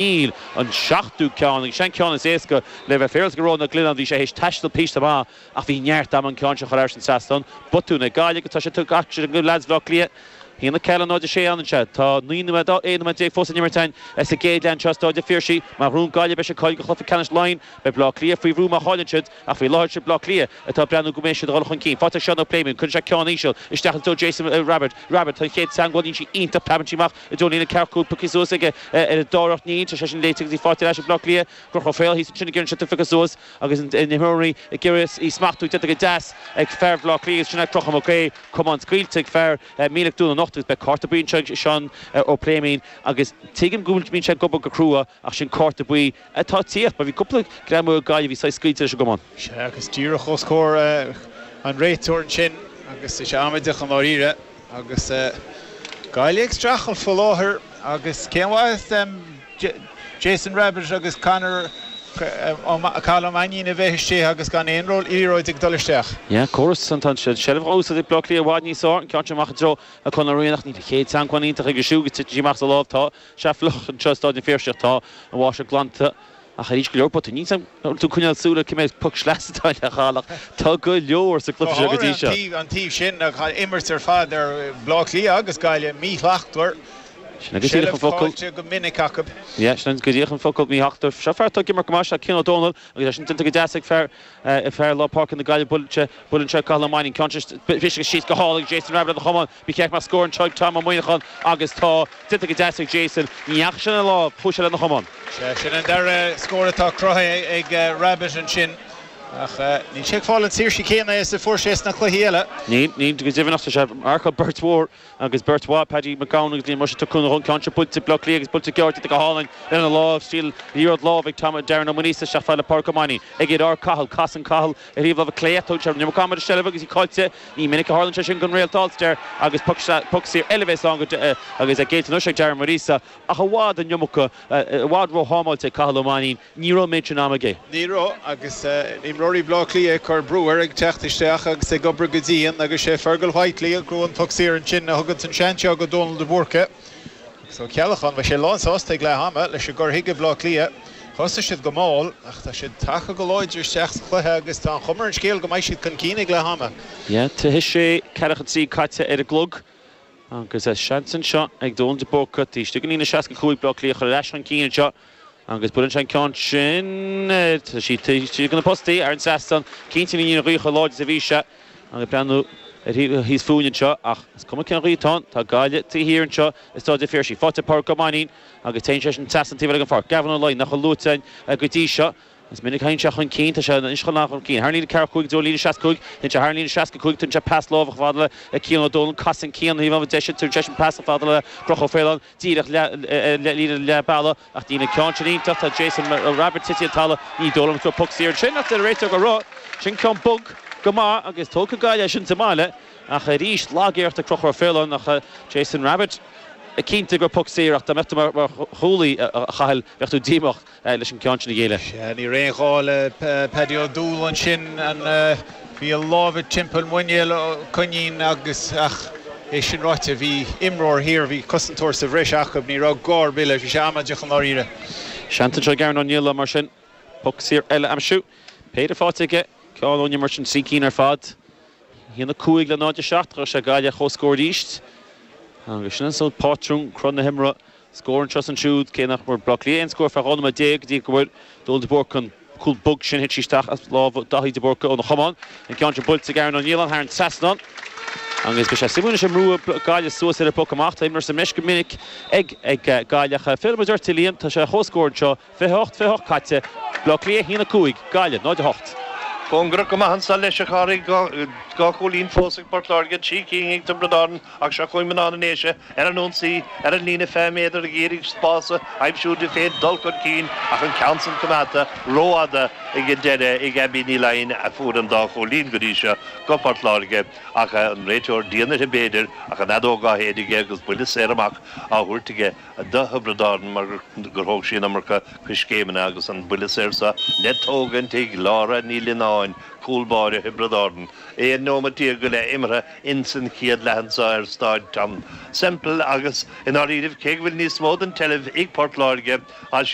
Níl an seachtú ceann, agus sin an ceann is éasca le bheith féaráilte go Rónán Ó Glionnáin, bhí sé théis taisteal píosa maith ach bhí neart ama an ceann seo a chur thar an trasnán. Botún ag Gaillimh agus tá sé tugtha acu sin go leaids Bhaile Átha Cliath. 1, 4, 0, 6 ann anseo. Tá 19 nóiméad fós in imirt againn sa gcéad leath anseo i Stáid an Phiarsaigh. Má ghnóthaíonn Gaillimh beidh siad ag cáiliú do chluiche ceannais Laighean. Beidh Baile Átha Cliath faoi bhrú má chailleann siad ach faoi láthair is Baile Átha Cliath atá ag breathnú go mbeidh siad ag dul chun cinn. Faighte ag Seán Ó Pléimionn. Cuireann sé ceann íseal isteach i dtreo Jason Rabbitte. Rabbitte, tá an chéad teagmháil níl sí iontach preabann sí amach i dtreo an líne ceathracha 5 pioctha suas aige ar an dara iarracht. Níl sé sin léite agus í faighte ar ais ag Baile Átha Cliath. Conchúr Ó Faoláin thíos ansin ag iarraidh an sliotar a phiocadh suas agus na himreoirí ag iarraidh í smachtú déanta go deas ag fear Bhaile Átha Cliath agus sin é Conchúr Mac Aoidh. Camán scaoilte ag fear Míleac Dún na nOchta agus beidh cárta buí anseo ag Seán Ó Pléimionn agus tuigim go bhfuil mbíonn sé ag obair go crua ach sin cárta buí atá ag tíocht mar bhí cúpla greamú ag Gaillimh a bhí saghas scaoilte leis an gcamán. Sea agus díreach os comhair an réiteoir ansin agus tá sé amaideach i ndáiríre. Agus Gaillimh ag streachailt faoi láthair agus cén mhaith Jason Rabbitte agus Conor Cathal Ó Mainnín a bheith istigh agus gan aon liathróid ag dul isteach. Yeah, córas an tá an seilbh á úsáid ag Bleá Cliath i bhfad níos fearr, an ceann sin amach i dtreo Conor Ó Riain ach níl an chéad teagmháil iontach aige siúd agus titeann sí amach as a lámh. Tá sé fliuch anseo i Stáid an Phiarsaigh tá an bháisteach glanta. Ach arís, go leor botún. Níl 's a'm an bhfuil tú ag coinneáil súil ar cé mhéad poc sleasa atá le fáil ach tá go leor sa gcluiche seo go dtí seo. Go háirithe an taobh sin, an imirt ar fad ar Bhleá Cliath agus Gaillimh, míshlachtmhar. Sin é go díreach an focal. Seilbh caillte go minic acu. Yeah, sin go díreach an focal, míshlachtmhar. Seo fear atá ag imirt go maith, seo Cian Ó Dónaill agus é sin déanta go deas ag fear fear lár páirce na Gaillimhe, buaileann sé, buaileann sé Cathal Ó Mainnín, ceann sin briste síos go hálainn ag Jason Rabbitte lena chamán. Ba cheart go mbeadh scór anseo ag Tom Ó Muineacháin agus tá. Déanta go deas ag Jason. Ní dheachaigh sé lena lámh, chuaigh sé lena chamán. Sea, sin an dara scór atá cruthaithe ag Rabbitte ansin ach níl sé ag fáil an tsaoirse chéanna is a fuair sé sna cluichí eile. Níl, níl, go deimhin ach tá sé ag marcáil beirt mhór agus beirt mhaith, Paddy McGowan agus Liam Rushe, tá cúnamh ón gceann seo buailte ag Bleá Cliath agus buailte gearr déanta go hálainn lena lámh, stíl liathróid láimhe ag Tom Darren Ó Maonaosa isteach fad le Pádraig Ó Mainnín. Ag iarraidh ar Cathal, casann Cathal ar thaobh láimhe clé ach tógann sé an iomarca ama ar an seilbh agus í caillte. Ní minic a tharlaíonn sé sin don réalt Ulster agus poc saor eile a bheas ann agus é géillte anois ag Darren Maonaosa ach i bhfad an iomarca, i bhfad róthámáilte ag Cathal Ó Mainnín. Ní raibh an méid sin ama aige. Ní raibh agus imreoirí Bhaile Átha Cliath ag cur brú air ag teacht isteach agus ag obair go dian agus sé Fergal Whitely a ghnóthaigh an poc saor ansin a thugann an seans seo go Dónal de Búrca. Agus Ó Ceallacháin, beidh sé lánsásta ag leath ama leis an gcur chuige Bhaile Átha Cliath. Thosaigh siad go mall ach tá siad tagtha go láidir isteach sa chluiche agus tá an chuma ar an scéal go mbeidh siad chun cinn ag leath ama. Yeah, 26, ceathracha 3 caite ar an gclog agus seans anseo ag Dónal de Búrca taobh istigh den líne 65 Bleá Cliath a chur ar ais chun cinn anseo agus buaileann sé an ceann sin, tá sí taobh istigh de na postaí ar an trasnán, cinnte ní an ghaoth chomh láidir is a bhí sé. Ag breathnú ar thíos fúinn anseo ach is cuma cén ghaoth atá ann, tá Gaillimh taobh thiar anseo i Stáid an Phiarsaigh. Faighte ag Pádraig Ó Mainnín agus téann sé sin trasna an taobh eile den pháirc. Gavin Ó Laighin, nach bhfuil luaite againn go dtí seo. Is minic a théann sé chun cinn, tá sé anois chun chun cinn. Thar an líne 45 i dtreo an líne 65, téann sé thar an líne 65, tugann sé pas láimhe chomh fada le Cian Ó Dónaill, casann Cian taobh láimhe deise, tugann seisean pas chomh fada le Conchúr Ó Faoláin, díreach líne leath bealaigh. Ach níl an ceann sin iontach, tá Jason Rabbitte tite ar an talamh, ní dóigh liom go raibh poc saor ansin ach deir an réiteoir go raibh. Sin ceann bog go maith agus tógfaidh Gaillimh é sin sa mbaile ach arís lag-iarracht ag Conchúr Ó Faoláin ach Jason Rabbitte cinnte go raibh poc saor ach dá mbeadh tú mar chúlaí a Chathail bheadh tú díomách leis an gceann sin a ghéilleadh. Sea, ní raibh aon ghá le Paddy O'Doul ansin. Bhí a lámha timpeall muinéal Coinín agus, ach é sin ráite, bhí imreoir thiar, bhí cosantóir sa bhreis acu, ní raibh gá ar bith leis, bhí sé amaideach i ndáiríre. Seans anseo ag Aaron O'Neill mar sin poc saor eile a aimsiú. Péire faighte aige, ceann ón imirt sin, 3 cinn ar fad. 1, 5 le 0, 7, chuir sé Gaillimh ar comhscór arís. Agus sin an sórt pátrún, cruth na himeartha. Scór anseo is ansiúd, cé nach bhfuair Bleá Cliath aon scór feadh 12 nóiméad go dtí go bhfuair Dónal de Búrca an cúl bog sin, thit sí isteach as lámha Daithí de Búrca óna chamán. An ceann sin buailte ag Aaron O'Neill thar an trasnán agus beidh sé suimiúil anois an mbrúfaidh Gaillimh suas ar an bpoc amach. Tá imreoir sa mbreis go minic ag Gaillimh ach fillfidh muid ort a Liam, tá sé ar comhscór anseo, 28, 28 caite, Bleá Cliath 1, 5, Gaillimh 0, 8. Cóngarach go maith anso leis a Chárthaigh, 2 chúilín fós ag Port Láirge, 3 cinn ag Tiobraid Árann. Ach seo chugainn mná na nDéise ar an ionsaí ar an líne 20 méadar ag iarraidh spás a aimsiú di féin dul chun cinn ach an ceann san coimeádta rófhada ag an deireadh ag Abbie Ní Laighin a fuair an dá chúilín go dtí seo go Port Láirge ach an réiteoir dian uirthi b'fhéidir ach an fheadóg á shéideadh aige agus buille saor amach á thabhairt aige do Thiobraid Árann mar gur thóg sí an iomarca coiscéimeanna agus an buille saor seo le tógaint ag Laura Ní Lionáird. amháin, cúl báire Thiobraid Árann. 11 nóimeat go leith imeartha ins an chéad leath anso ar Stáid Tom Semple agus i ndáiríribh cé go bhfuil níos mó den tseilbh ag Port Láirge, tá siad.